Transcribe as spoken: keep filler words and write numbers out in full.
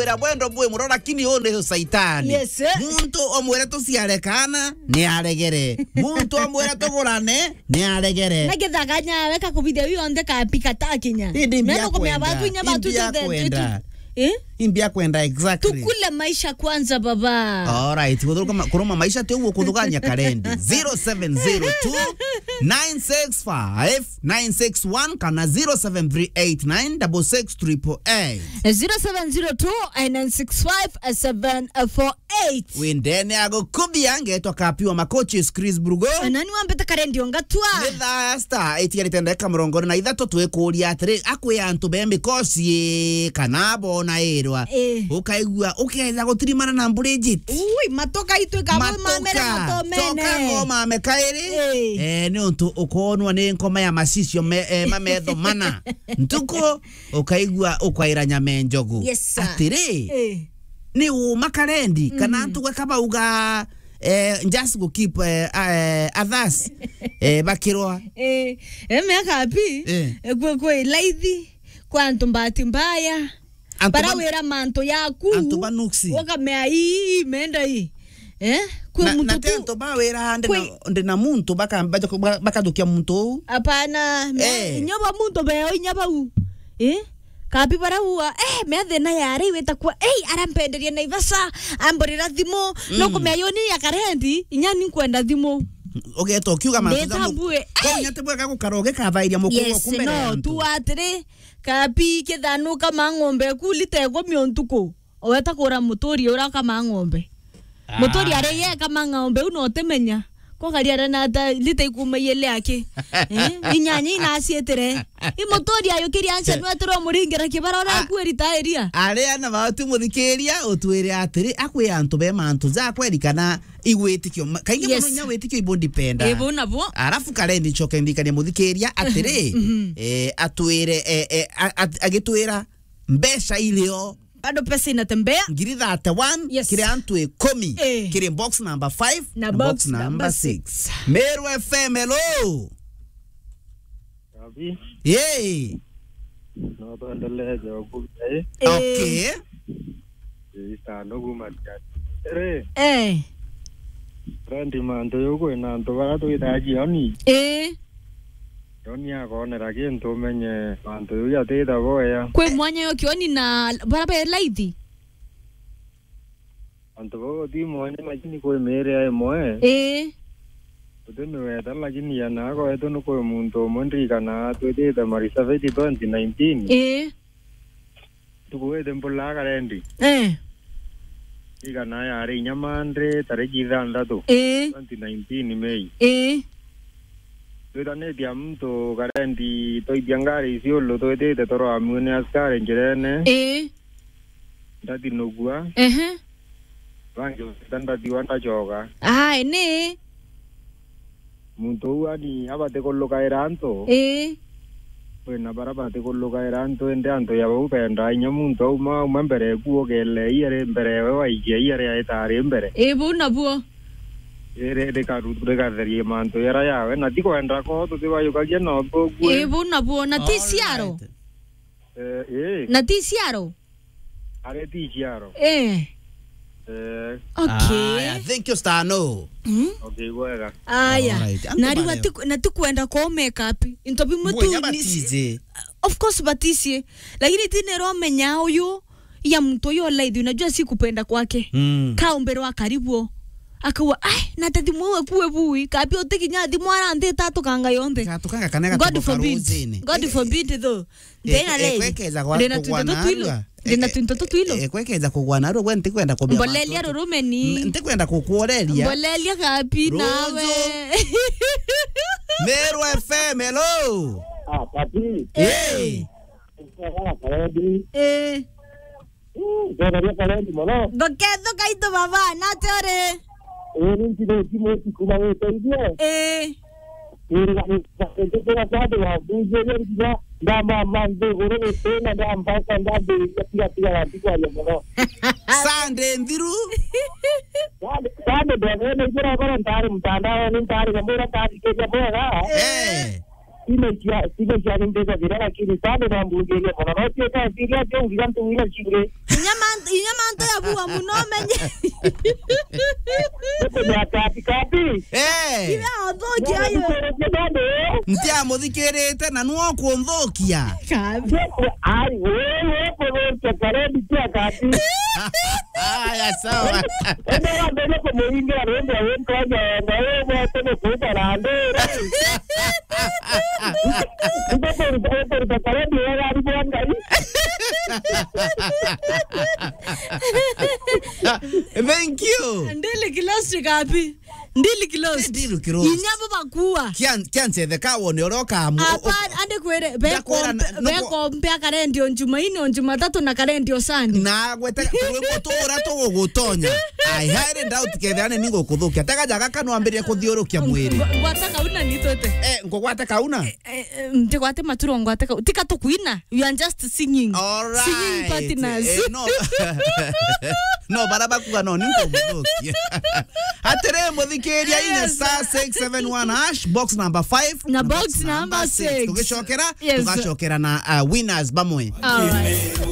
Ira bwendo bwi muro, lakini uu ni saitani. Yes, eh. Muntu omwire tuciare kana, ni aregere. Muntu omwire tugurane, ni aregere. Na githaganya weka kubithia wi onthe kapi katakinya. Indi mbia kwenda. Indi mbia kwenda. Eh? Indi mbia kwenda, exactly. Tukule maisha kwanza, baba. All right. Kuthuruka ma-, kuruma maisha ti uguo kuthugania karendi. Zero seven zero two, nine six five, nine six one kana zero seven three eight nine double six triple eight. Zero seven zero two, nine six five, seven four eight. Windene agukubia, ngetwa Kapi wa Makochi, Chris Brugo. Nani wambete karendi ongatwa? Ni thaa star itigarite ndagika mirongo iri na ithatu, twikuria atiri, akwi antu be mikosi kana bona irwa. Eh. Ukaigua, ukeza gutirimana na Bridget. Ui, matoka itwika mamera matomene. Toka ngoma mekairi. Eh. Eh, ni untu ukonwa ni ngoma ya macicio me, eh, mametho mana. Ntuku, ukaigua ukwaira nyama njogu. Yes, sir. Atiri, eh, ni uma karendi, kana, mhm, antu gweka bauga, eh, just go keep, eh, eh, others, eh, bakirwa. Eh, eh, miaka api? Eh. Eh, kwe, kwe laithi, kwa antu mbati mbaya. Antu bara ba-, wira mantu yaku. Antu ba nuksi. Ukamea ii, menda ii. Eh? Kwi na, muntu na ti ku-, antu ba wira ndi na, kwi- ndi na muntu baka-, baka-, bakathukia muntu uu. Apana, me-, eh, inya ba muntu beo, inya bau. Eh? Kapi bara ua, eh, me thina yari wita kwa, ei, arampenderia Naivasha, amburira thimu, mm, no kumea yo ni ya karendi, inya ni nkwenda thimu. Ugeta ukiuga mantu ja mu-, nditambue, kwou, eh, inya ti bwega gukara ugikathairia mukuru, yes, oku mbere ya, no, antu. Tu atiri, Kapi, kithanuka ma ng'ombe ku lita ikumi o ntuku. Oweta kura muturi uria ukama ng'ombe. Ah. Muturi ari ye kama ng'ombe u no utimenya. Kwa kari ara na ta lita ikuma yele aki. Eh? Inyanya inacietire. I muturi ayukiria ancha nwetirwo muringira kibara ura, a-, kuerita eria. Aria na batu muthikiria, utwire atiri, akwi antu be mantu ja kweri kana igwitikio. Ma-, kaingi, yes, muno inya witikio ibo ndipenda. Ibo nabo. Arafu karendi ncoke ndikanie muthikiria atiri, mhm, eh, atwire, eh, eh, a-, a-, agitwira mbeca irio. Bado pesa inatembea. Ngiri thirty-one, yes, kiri antu ikumi. Eh. Kiri box number five na box number six. Meru F M, hello. Kabi. Yay. No tuendelee joku, eh? Eh. Okay. Ii, ta ndugu Matiang'i. Ri, eh, rendi mantu yu kwina antu bara twitaga Jioni. Ii. Jioni akonera kintu umenye mantu yu jatita boya. Kwi mwanya yo Kioni na bara be laithi? Antu bau ti mwanya, lakini kwi miiri ya imwe. Ii. Uti miweta, lakini ya nako yetu ni kwi muntu umwe ndirikana twitite Marisabiti twenty nineteen. Ii. Ntuku iti mbulaa karendi. Eh. Igana yari inya Monday, tariki ithanthatu, eh, twenty nineteen Mei. Eh. Twitanitie muntu karendi, twaithia ngari Isiolo, twitite turwamue ni askari njirene. Eh. Ndatinugua. Ehe. Bangi beta ndathiwa ndachoka. Ai, ni. Muntu uu ani abati kulukaira antu. Ii. Kwina bara bati kulukaira antu, indi antu ya bau benda inya muntu auma, auma mbere eku, ukele iere mbere ewe waikia iere aitari mbere. Ii, bau nabuo. Iri rikaru-, rikatherie mantu yara yawe, na ti kwenda ko tutibayukagia no tugue. Ii, bau nabuo, na ti ciaro. All right. Eh, ii. Na ti ciaro. Ari ti ciaro. Eh. Eh. Okay. Aya, thank you, Stano. Mm. Okay, bwega. Aya. All right. Antu na riu bari ati-, na tikwenda ko make up. Into bimwe tu ni batije. Of course batije. Lakini ti nero menya uyu ya mtu yo lady, unajua si kupenda kwake. Mm. Ka umbere wa karibu. Akawa, "Ai, na te thimu we kuwe bui. Kapi utikinya thimu ara nthi tatu kanga yonthe." Gatukanga kana God forbid. Ruzini. God forbid though. Ndina lady. Ekwekeza kwa-, ndina kugwa twinto tutwilo. Narua. Ndina twinto tutwilo. Ekwekeza kugwa narua, gwe ntikwenda kubia. Mbolelia mantu. Rurumeni. N-, ntikwenda kukuoreria. Mbolelia kapi nawe. Meru F M, hello. Ah, Papi. Eh. Eh. Eh. Mm, ndetheria karendi mono. Ngoketho kaitu baba, nate uri? Ii, ni ntire timu iti kuma witeithie. Ii. Iriganite kwandwa bunjire nginya ndamama nthiguru gutina ndambaca ndambiriria tiga tiga gati kwaria mono. Sunday nthiru. Sunday, Sunday ndethire naigire bara ntari mtandaoni ntari nyamwira ndathikiria bwega. Eh. Sina cia, sina cia ni mbega thira lakini Sunday no mbunjirie mono. No tuika eciria ati ungiga ntuwira cingi. Kinya mantu Inya mantu ya bua muno menye. Kati kati. Eh. Iwe athoki ayo. Ntiamuthikirite na nuo kunthukia. Kati. Ai, wewe kurukia karendi tia kati. Aya, sawa. Ende wambere kumuringira rwimbo wintwaja enda wewe tene kuita randira. Ndio kuruta karendi wega ari bwa Ngai. Thank you. Ndili kilosi kapi? Ndili kilosi. Ndili kilosi. Inyabo bakua. Kian-, kiancetheka wone uria ukamu-, u-, u-, apa, ande kwere, ndakwira bekompe, na, nuko- bekompe akarendio Jumaine, o Jumatatu na karendio Sunday. Na gwete, rwimbo tura tugugutonya. I highly doubt kethira ni ningukuthukia. Tega jaga kanwambirie kuthiurukia mwiri. Ngwa-, ngwata kauna nitwete. Eh, ngugwate kauna? Eh, eh, ntigwate maturo ngwate kau. Tika tukwina. You are just singing. All right. Singing partners. Eh, no. No, bara bakuga no, ni ngumuthukia. Atiri, muthikiria, inya star six seven one hash, box number five, na box number six. Tugicokera, yes, tugacokera na, uh, winners bamwe. All right.